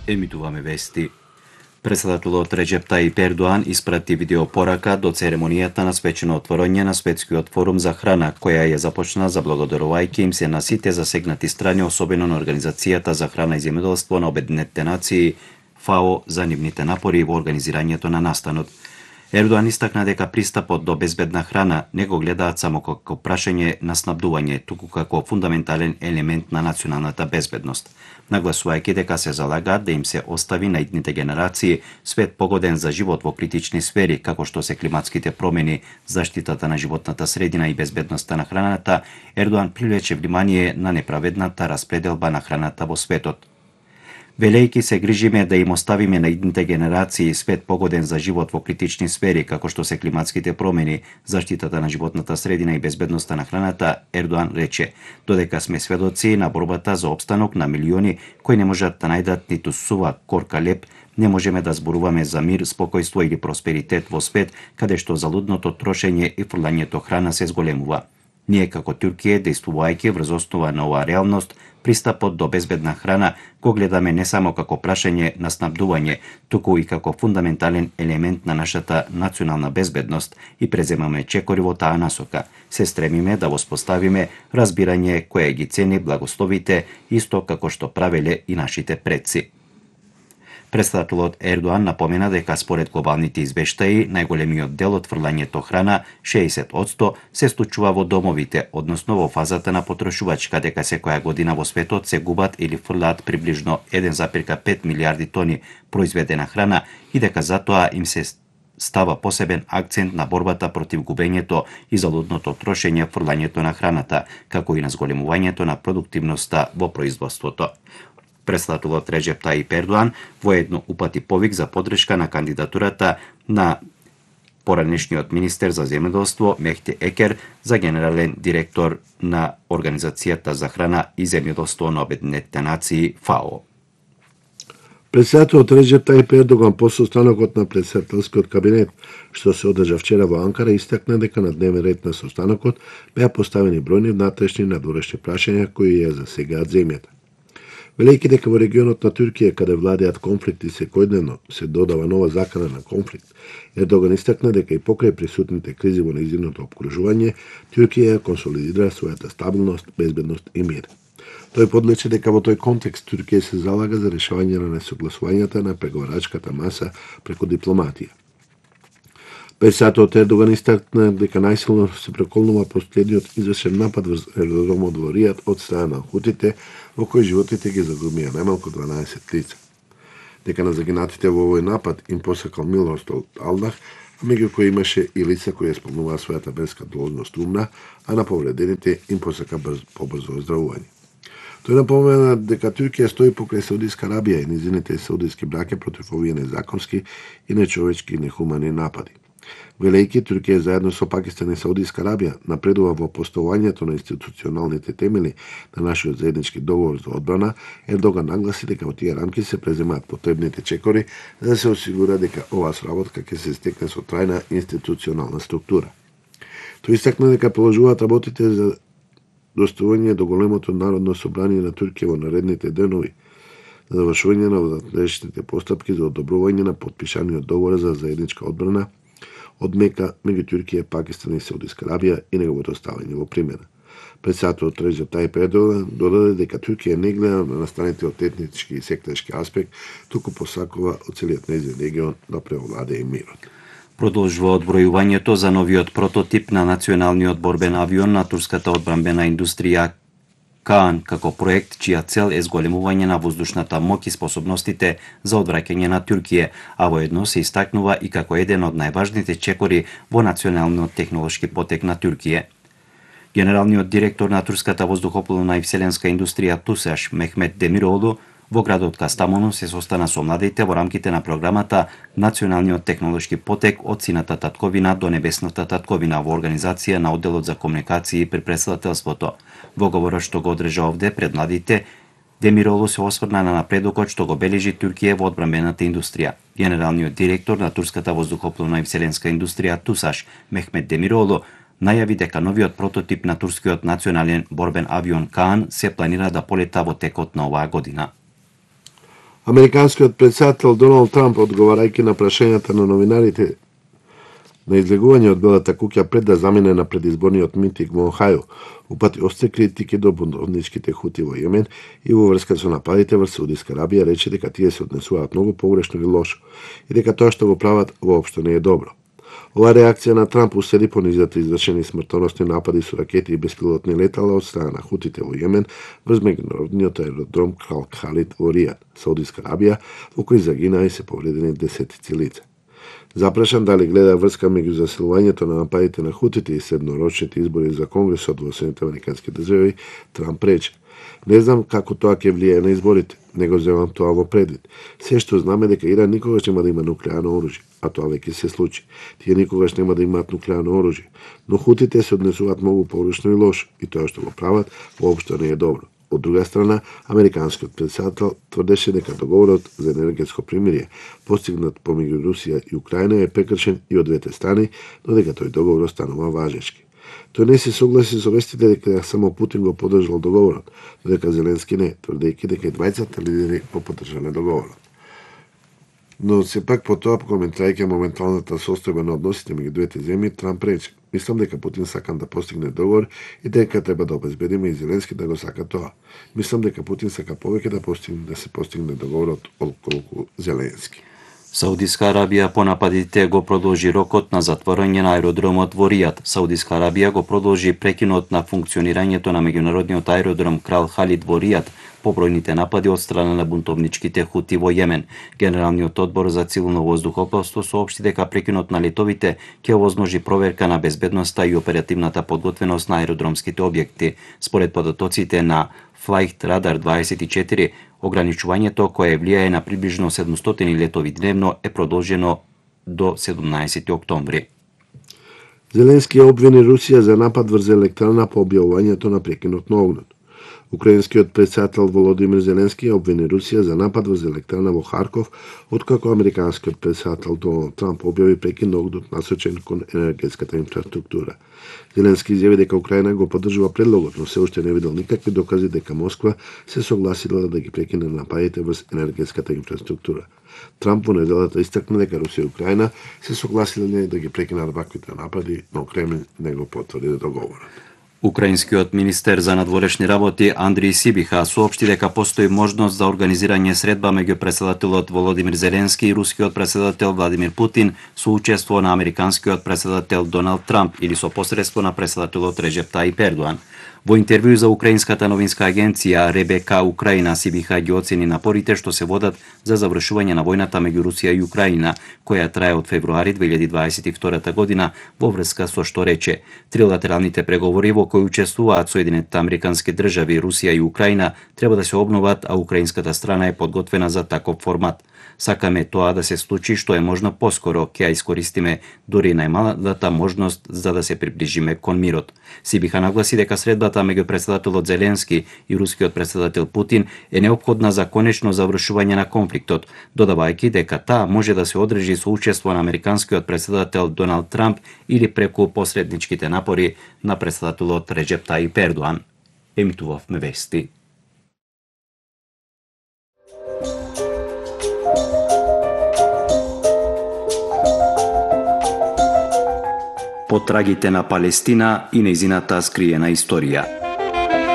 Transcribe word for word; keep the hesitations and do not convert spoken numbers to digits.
Емитуваме вести. Председателот Реџеп Тајип Ердоан испрати видеопорака до церемонијата на свечено отворање на Светскиот форум за храна, која ја започна заблагодарувајќи им се на сите засегнати страни, особено на Организацијата за храна и земјоделство на Обединетите нации, ФАО, за нивните напори во организирањето на настанот. Ердоан истакна дека пристапот до безбедна храна не го гледаат само како прашање на снабдување, туку како фундаментален елемент на националната безбедност, нагласувајќи дека се залагаат да им се остави на идните генерации свет погоден за живот во критични сфери, како што се климатските промени, заштитата на животната средина и безбедноста на храната. Ердоан привлече внимание на неправедната распределба на храната во светот. Велејќи се грижиме да им оставиме на идните генерации свет погоден за живот во критични сфери, како што се климатските промени, заштитата на животната средина и безбедноста на храната, Ердоан рече, додека сме сведоци на борбата за опстанок на милиони кои не можат да најдат ниту сува корка леп, не можеме да зборуваме за мир, спокојство или просперитет во свет каде што залудното трошење и фрлањето храна се зголемува. Ние како Туркија, действувајќи врз основа на оваа реалност, пристапот до безбедна храна го гледаме не само како прашање на снабдување, туку и како фундаментален елемент на нашата национална безбедност и преземаме чекори во таа насока. Се стремиме да воспоставиме разбирање кое ги цени благословите, исто како што правеле и нашите предци. Председателот Ердоан напомена дека според глобалните извештаи, најголемиот дел од фрлањето храна, шеесет одсто, се случува во домовите, односно во фазата на потрошувачка, дека секоја година во светот се губат или фрлаат приближно еден запирка пет милијарди тони произведена храна и дека затоа им се става посебен акцент на борбата против губењето и залудното трошење, фрлањето на храната, како и на зголемувањето на продуктивноста во производството. Председателот Реџеп Тајип Ердоан воедно упати повик за поддршка на кандидатурата на поранешниот министер за земјоделство Мехти Екер за генерален директор на Организацијата за храна и земјоделство на Обединетите нации, ФАО. Председателот Реџеп Тајип Ердоган по состанокот на председателскиот кабинет, што се одржа вчера во Анкара, истакна дека на дневен ред на состанокот беа поставени бројни внатрешни и надворешни прашања кои ја засегаат земјата. Велејќи дека во регионот на Туркија, каде владеат конфликти секојдневно, се додава нова закана на конфликт, Ердоган истакна дека и покрај присутните кризи во нејзиното опкружување, Туркија консолидира својата стабилност, безбедност и мир. Тој подлече дека во тој контекст Туркија се залага за решавање на несогласувањата на преговарачката маса преку дипломатија. Председателот Ердоган истакна дека најсилно се преколнува последниот извршен напад врз аеродромот во Ријад од страна на хутите, во кој животите ги загубија најмалку дванаесет лица. Дека на загинатите во овој напад им посакал милост од Алдах, а меѓу кои имаше и лица кои исполнуваа својата верска должност умна, а на повредените им посака брз, побрзо оздравување. Тој напомена дека Туркија стои покрај Саудиска Арабија и низините саудиски браќа против овие незаконски и нечовечки и нехумани напади. Велејќи Туркија заедно со Пакистан и Саудиска Арабија напредува во поставувањето на институционалните темели на нашиот заеднички договор за одбрана, Ердоган нагласи дека во тие рамки се преземаат потребните чекори за да се осигура дека оваа сработка ќе се стекне со трајна институционална структура. Тој истакна дека продолжуваат работите за доставување до големото народно собрание на Туркија во наредните денови, за завршување на внатрешните постапки за одобрување на потпишаниот договор за заедничка одбрана од Мека меѓу Туркија, Пакистан и Саудиска Арабија и неговото ставање во примена. Председателот Реџеп Тајип Ердоган додаде дека Туркија не гледа на настаните од етнички и сектарски аспект, туку посакува од целиот нејзин регион да преовладее мирот. Продолжува одбројувањето за новиот прототип на националниот борбен авион на турската одбранбена индустрија Каан како проект чија цел е зголемување на воздушната моќ и способностите за одвраќање на Туркија, а воедно се истакнува и како еден од најважните чекори во националниот технолошки потек на Туркија. Генералниот директор на турската воздухопловна и вселенска индустрија ТУСАШ Мехмет Демироглу во градот Кастамону се состана со младите во рамките на програмата Националниот технолошки потек од сината татковина до небесната татковина во организација на одделот за комуникации при претседателството. Во говорот што го одржа овде пред младите, Демиролу се осврна на напредокот што го бележи Туркија во одбранбената индустрија. Генералниот директор на турската воздухопловна и вселенска индустрија ТУСАШ Мехмет Демиролу најави дека новиот прототип на турскиот национален борбен авион Каан се планира да полета во текот на оваа година. Американскиот претседател Доналд Трамп, одговарајќи на прашањата на новинарите на излегување од Белата куќа пред да замине на предизборниот митинг во Охајо, упати остри критики до бунтовничките хути во Јемен и во врска со нападите врз Саудиска Арабија, рече дека тие се однесуваат многу погрешно и лошо и дека тоа што го прават воопшто не е добро. Ова реакција на Трамп уследи по низата извршени смртоносни напади со ракети и беспилотни летала од страна на хутите во Јемен врз меѓународниот аеродром Крал Халид во Ријад, Саудиска Арабија, во кој загинаа и се повредени десетици лица. Запрашан дали гледа врска меѓу засилувањето на нападите на хутите и среднорочните избори за Конгресот во Соединетите американски држави, Трамп рече: "Не знам како тоа ќе влијае на изборите, не го земам тоа во предвид. Се што знаме дека Иран никогаш нема да има нуклеарно оружје, а тоа веќе се случи. Тие никогаш нема да имаат нуклеарно оружје, но хутите се однесуваат многу погрешно и лошо и тоа што го прават воопшто не е добро." Од друга страна, американскиот претседател тврдеше дека договорот за енергетско примирие, постигнат помеѓу Русија и Украина, е прекршен и од двете страни, но дека тој договор останува важечки. Тој не се согласи со вестите дека само Путин го поддржал договорот, но дека Зеленски не, тврдејќи дека и двајцата лидери го поддржале договорот. Но сепак по тоа, коментирајќи моменталната состојба на односите меѓу двете земји, Трамп рече: "Мислам дека Путин сакам да постигне договор и дека треба да обезбедиме и Зеленски да го сака тоа. Мислам дека Путин сака повеќе да постигне да се постигне договорот отколку Зеленски." Саудиска Арабија по нападите го продолжи рокот на затворање на аеродромот во Ријад. Саудиска Арабија го продолжи прекинот на функционирањето на меѓународниот аеродром Крал Халид во Ријад по бројните напади од страна на бунтовничките хути во Јемен. Генералниот одбор за цивилно воздухопловство соопшти дека прекинот на летовите ќе овозможи проверка на безбедноста и оперативната подготвеност на аеродромските објекти. Според податоците на Flight Radar дваесет и четири, ограничувањето кое влијае на приближно седумстотини летови дневно е продолжено до седумнаесети октомври. Зеленски обвини Русија за напад врз електрана по објавувањето на прекинот на огнот. Украинскиот претседател Володимир Зеленски обвини Русија за напад врз електрана во Харков, откако американскиот претседател Доналд Трамп објави прекин на огнот насочен кон енергетската инфраструктура. Зеленски изјави дека Украина го поддржува предлогот, но се уште не видел никакви докази дека Москва се согласила да ги прекине нападите врз енергетската инфраструктура. Трамп во неделата истакна дека Русија и Украина се согласиле да ги прекинат ваквите напади, но Кремљ не го потврди договорот. Украинскиот министер за надворешни работи Андрий Сибиха соопшти дека постои можност за организирање средба меѓу претседателот Володимир Зеленски и рускиот претседател Владимир Путин со учество на американскиот претседател Доналд Трамп или со посредство на претседателот Реджеп Тајип Ердоан. Во интервју за украинската новинска агенција РБК Украина, Сибиха ги оцени напорите што се водат за завршување на војната меѓу Русија и Украина, која трае од февруари две илјади дваесет и втора година, во врска со што рече: "Трилатералните преговори во кои учествуваат Соединетите американски држави, Русија и Украина треба да се обноват, а украинската страна е подготвена за таков формат. Сакаме тоа да се случи што е можно поскоро, ќе ја искористиме дури најмалата можност за да се приближиме кон мирот." Сибиха нагласи дека средбата меѓу претседателот Зеленски и рускиот претседател Путин е неопходна за конечно завршување на конфликтот, додавајќи дека таа може да се одржи со учество на американскиот претседател Доналд Трамп или преку посредничките напори на претседателот Реджеп Тајип Ердоан. Емитувавме вести. Потрагите на Палестина и нејзината скриена историја.